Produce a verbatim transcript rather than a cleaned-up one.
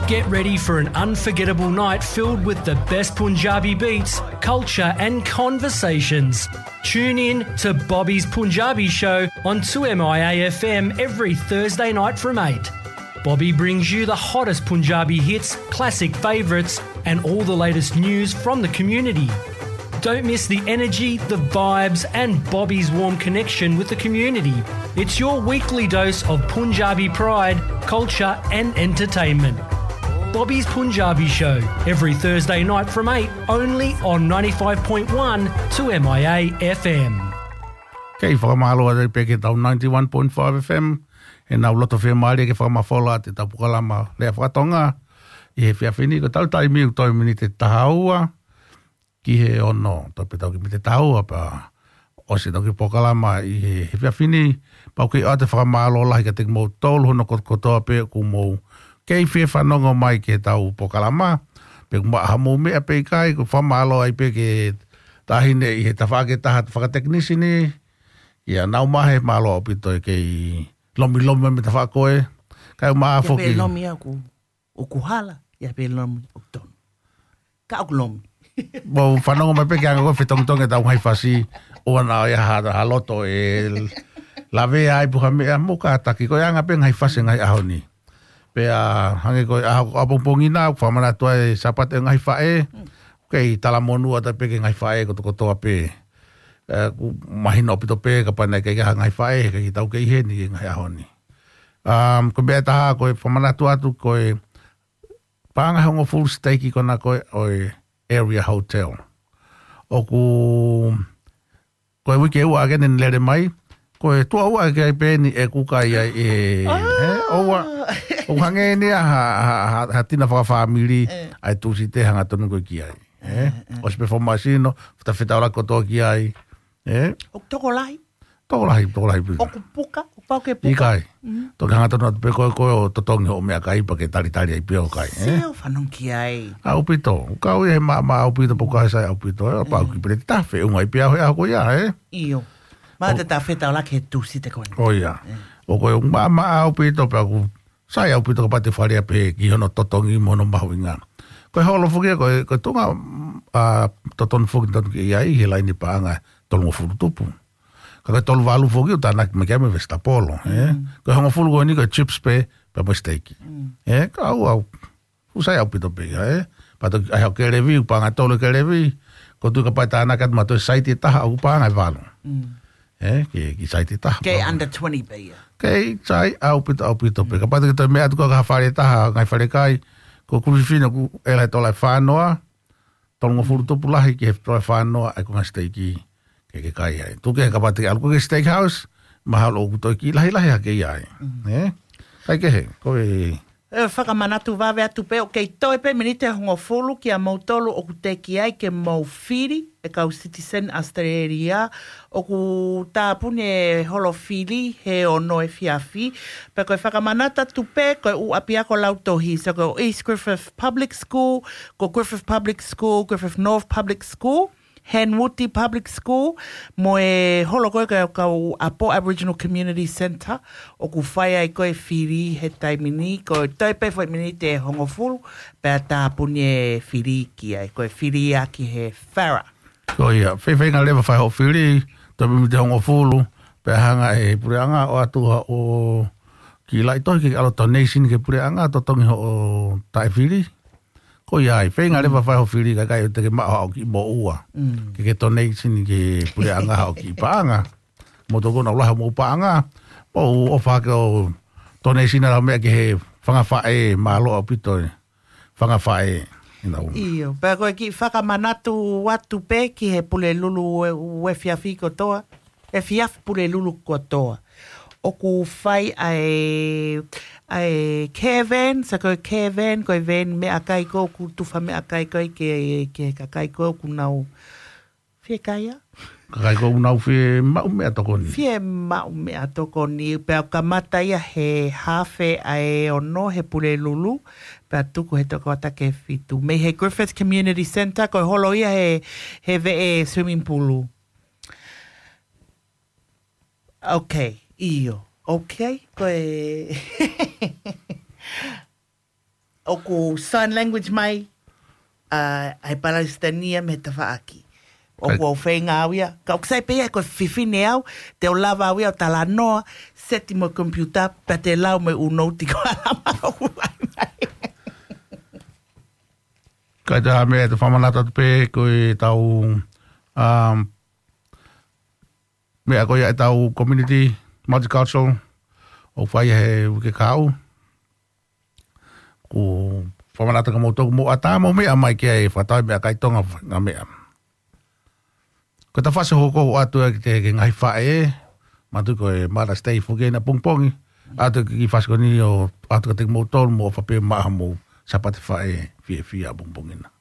Get ready for an unforgettable night filled with the best Punjabi beats, culture, and conversations. Tune in to Bobby's Punjabi Show on two M I A F M every Thursday night from eight. Bobby brings you the hottest Punjabi hits, classic favourites, and all the latest news from the community. Don't miss the energy, the vibes, and Bobby's warm connection with the community. It's your weekly dose of Punjabi pride, culture, and entertainment. Bobby's Punjabi Show, every Thursday night from eight, only on ninety-five point one two M I A F M. Kei fakamālō atu pē ki he tau ninety-one point five F M, he ʻenau loto fiemālie ke fakamafola atu ʻetau polokalama lea faka-Tonga ʻi he efiafi ni. Ko ʻetau taimi ʻoku toe miniti taha ua ki he ono, toe pē tau ki he miniti taha ua pea ʻosi ʻetau kiʻi polokalama ʻi he, he efiafi ni. Pea ʻoku ou ʻoatu e fakamālō lahi kiate kimoutolu hono kotokotoa pē ʻoku mou kei fie fanongo mai ki heʻetau polokalama. Pe ʻoku maʻu haʻamou meʻa pe ʻikai, ʻoku ou fakamālō ai pē ki he taʻahine ʻi he tafaʻaki ʻe taha fakatekinisini, ʻa ia naʻa nau maʻu e mālō ʻaupito e kei lomilomi mai mei he tafaʻaki ko ē. Kae ʻumaʻā foki. Lomi ʻoku, ʻoku hala, ʻa ia pē lomi ʻoku tonu. Ka ʻoku lomi. Mou fanongo mai pē ki he anga ko ē fetongitongi ʻetau ngaahi fasi, ʻoua naʻa ʻi ai ha, ha loto ʻe lavea ai pe ko ha meʻa, mou kātaki, ko e anga pē ngaahi fasi ngaahi ʻaho ni. Pea hangē ko e ʻaho, ʻapongipongi na, ʻoku fakamanatu ai e Sāpate ʻo e ngaahi faʻē, kei talamonū atu pē ki he ngaahi faʻē kotokotoa pē. ʻE, ʻoku mahino ʻaupito pē kapau naʻe ʻikai ha ngaahi faʻē, he ʻikai ke tau kei ʻi heni he ngaahi ʻaho ni. Um, ko e meʻa ʻe taha, ko e fakamanatu atu, ko e paʻanga ʻe hongofulu siteiki ko ena ko ē ʻo e Area Hotel. ʻOku, ko e uike ua ʻa eni naʻe lele mai, ko e tuʻo ua ʻa e kai pē eni ʻe kuka ai ʻe, ʻe, ʻoua, ʻoku hangē ni ia ha, ha, ha, ha tina fakafāmili, ʻa e Tūsite hangatonu ko ē ki ai. ʻE, ʻosi pē fo masino, feta fetaulaki kotoa ki ai. ʻE? ʻOku tokolahi. Tokolahi, tokolahi pē. ʻOku puka, ʻoku pau ke puka. ʻIkai. Toki hangatonu atu pē ko ē, ko ē ʻo totongi hoʻo meʻakai pea ke talitali ai pē ʻo kai, ʻe? Sio, fanongo ki ai. ʻAupito, kau ia he maʻamaʻa ʻaupito, pea ʻoku ʻikai sai ʻaupito, ʻe, pau ki pele te tafe, ʻunga ai pē au he ʻaho ko ia, ʻe? ʻIo. Mā te ta fetaulaki he Tūsite ko eni. ʻO ia. ʻOku ʻi ai e maʻamaʻa ʻaupito, pea ʻoku sai ʻaupito kapau te fale a pē ki hono totongi mo hono mahuʻinga. Ko e holo foki ia, ko e, ko e tuʻunga, mm, ʻa, totonu foki tonu ke ʻi ai he laine paʻanga ʻe tolungofulu tupu. Ka ko e tolu valu foki ʻoku tānaki mai ki ai mei he Vesitapolo, ʻe? Ko e hongofulu ko eni ko e chips pē, pea mo e siteiki. ʻE, ka ʻoku, ʻoku sai ʻaupito pē ia, ʻe? Pea toki ʻai haʻo kelevi, paʻanga ʻe tolu e kelevi, ʻoku ou tui kapau ʻe tānaki atu mautolu he saiti ʻe taha ʻoku paʻanga ʻe valu. ʻE, ki, ki he saiti ʻe taha. Kei under twenty pē ia. Kei sai ʻaupito, ʻaupito pē. Kapau te ke toe meʻa atu ki ha fale ʻe taha, ngaahi fale kai, ko e kulupu fefine ʻoku ʻela he tola ʻe fā noa, tolungofulu tupu lahi ki he tola ʻe fā noa, ʻa ia ko e ngaahi siteiki ke ke kai ai. Tuku kehe kapau te ke ʻalu koe ki he steakhouse, mahalo ʻoku toe kiʻi lahilahi hake ia ai. ʻE? Kae kehe, ko e ʻE, fakamanatu vave atu pē, ʻoku kei toe pē miniti ʻe hongofulu kiate kimoutolu ʻoku teʻeki ai ke mou fili e kau citizen ʻAositelēlia, ʻoku tāpuni e holo fili he ono efiafi. Pea ko e fakamanatu atu pē, ko e ʻū ʻapiako lautohi, so ko East Griffith Public School, ko Griffith Public School, Griffith North Public School, Henwood Public School, mo e holo ko ē ʻa e kau ʻapo Aboriginal Community Centre, ʻoku fai ai ko ē fili he taimi ni, ko e toe pē foʻi miniti ʻe hongofulu, pea tāpuni e fili ki ai, ko e fili ia ki he Farrer. Ko ia, fai, feinga leva fai hoʻo fili, toe pē miniti ʻe hongofulu, pea hanga ʻe he puleʻanga ʻo ʻoatu haʻo kiʻi laʻi tohi ke ʻalu ʻo donation ki he puleʻanga, totongi hoʻo taʻefili. Ko ia ai, feinga leva fai hoʻo fili kae ʻikai te ke maʻu haʻo kiʻi moʻua. Ke ke donation ki he puleʻanga haʻo kiʻi paʻanga. Mou tokona ʻo lahi hoʻomou paʻanga. Mou ʻofa hake ʻo donation ʻa e meʻa ki he fanga faʻē, mālō ʻaupito e fanga faʻē. ʻIo, pea ko e kiʻi fakamanatu atu pē ki he Pulelulu ʻo e, ʻo e efiafi kotoa. Efiafi Pulelulu kotoa. ʻOku fai ʻa e, ʻa e caravan, so ko e caravan, ko e van meʻakai ko ē ʻoku tufa meʻakai ko ē ki he, ki he kakai ko ē ʻoku nau fie kai ia. Kakai ko ē ʻoku nau fie maʻu meʻatokoni. Fie maʻu meʻatokoni, pea kamata ia he haafe ʻa e ono he Pulelulu, pea tuku he tokotaha ki he fitu. Mei he Griffith Community Centre, ko e holo ia he, he veʻe swimming pool. Ok, ʻio. Ok, ko e ʻOku sign language mai ʻa e Palesitania mei he tafaʻaki. ʻOku ou feinga au ia. Ka ʻoku sai pē ia ko e fefine au, te u lava au ia ʻo talanoa, seti mo e computer, pea te lau mo e ʻū nouti ko ʻAlama ʻoku ʻai mai. Ka ʻi ai ha meʻa ʻe fakamanatu atu pē ko ʻetau, um, meʻa ko ia ʻetau community multicultural ʻoku fai he uike kahaʻu. ʻOku fakamanatu kia moutolu ʻoku mou ʻatā mo meʻa mai ke fakatau meʻakai Tonga ngaahi meʻa. Ko ʻetau fasi hoko atu ʻa e ki he ngaahi faʻē, manatuʻi ko e Mother's Day foki ʻanepō pongipongi, ʻoatu e kiʻi fasi ko eni ʻo ʻoatu kiate kimoutolu mo ʻofa pē maʻa homou Sāpate Faʻē fiefia pongipongi na.